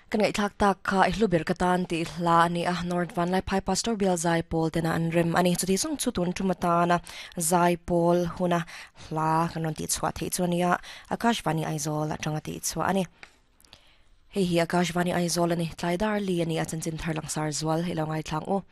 Kan ngaihthlak tak kha i hlu ber ka tan tih hla a ni a, North Vanlaiphai Pastor Bial Zaipawl tena an rem a ni. Chuti zawng chu tun tum atana Zaipawl huna hla kan rawn tihchhuah theih chu a ni a, Akashvani Aizawl atanga tihchhuah a ni. Hei hi Akashvani Aizawl a ni, tlai dar li a ni a, chanchin thar langsar zual i lo ngaithlang u.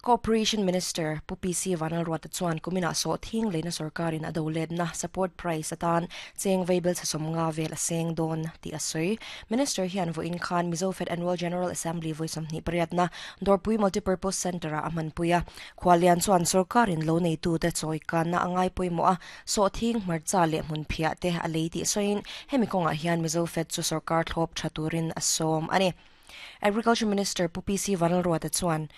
Cooperation Minister Pu PC Vanlalruata chuan kuminah sawhthing leina sorkarin a do letna support price atan cheng veibel chhe 50 vel a seng dawn tih a sawi. Minister hian vawiin khan Mizofed Annual General Assembly vawi 28 na Dawrpui Multipurpose Centre-ah a hmanpui a. Khualian chuan sorkarin lo neitute chawi kanna a ngai pawimawh a, sawhthing, hmarcha leh hmunphiah te a lei tih sawiin hemi kawngah hian Mizofed chu sorkar thlawp tha turin a sawm a ni. Agriculture Minister Pu PC Vanlalruata chuan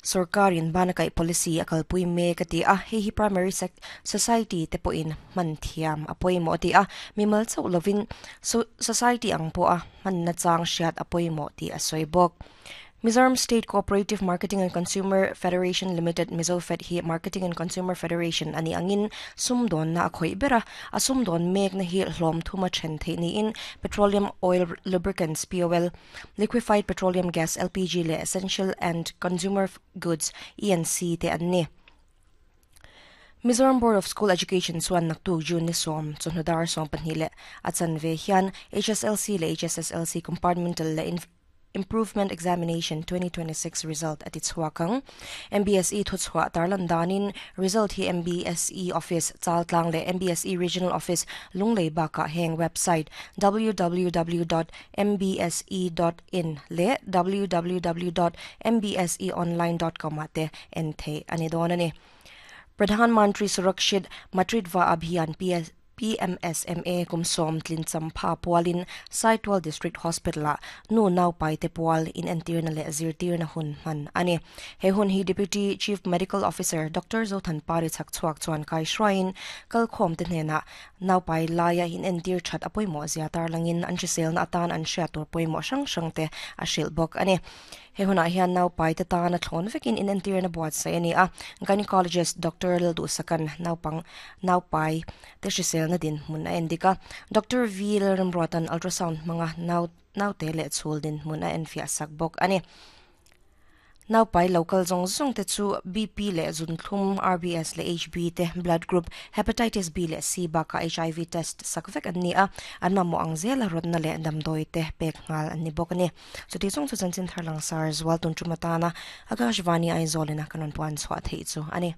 sorkarin bana kaih policy a kalpui mek a ti a, hei hi primary society te pawhin hman thiam a pawimawh a ti a, mimal chauh lovin society ang pawha hman nachang hriat a pawimawh tih a sawi bawk. Mizoram State Cooperative Marketing and Consumer Federation Limited, MizoFed, hi Marketing and Consumer Federation a nih angin sumdawnna a khawih ber a, a sumdawn mekna hi hlawm thuma then theih niin Petroleum Oil Lubricants, POL, Liquefied Petroleum Gas, LPG, leh Essential and Consumer Goods, ENC, te an ni. Mizoram Board of School Education chuan naktuk June ni 10 chawhnu dar 12 leh a chanve hian HSLC leh HSSLC Compartmental leh Improvement Examination 2026 result a ti chhuak ang. MBSE thuchhuah tarlan danin result hi MBSE Office Chaltlang leh MBSE Regional Office Lunglei bakah heng website www dot mbse dot in leh www dot mbseonline dot com ah te en theih a ni dawn a ni. Pradhan Mantri Surakshit Matritva Abhiyan PS PMSMA kum 10 tlin champha pualin Saitual District Hospital-ah nu naupaite pual inentirna leh zirtirna hun hman a ni. He hun hi Deputy Chief Medical Officer Doctor Zothanpari chhakchhuak chuan kai hruaiin kalkhawmte hnenah naupai laia inentir that a pawimawh zia tarlangin an hriselna atan an hriat tur pawimawh hrang hrangte a hrilh bawk a ni. He hunah hian naupaite tana thlawn vekin inentirna buatsaih a ni a, Gynecologist Doctor Lalduhsakan naupang naupai te hriselna dinhmun a endik a, Doctor V Lalramruatan ultrasound hmanga nau naute leh chhul dinhmun a enfiah sak bawk a ni. Naupai lo kal zawng zawng te chu BP leh zunthlum, RBS leh HB te, blood group, Hepatitis B leh C bakah HIV test sak vek an ni a, an mamawh ang zela rawtna leh damdawi te pek nghal an ni bawk a ni. Chuti chung chu chanchin thar langsar zual tun tum atana Akashvani Aizawl ina kan rawn puan chhuah theih chu a ni.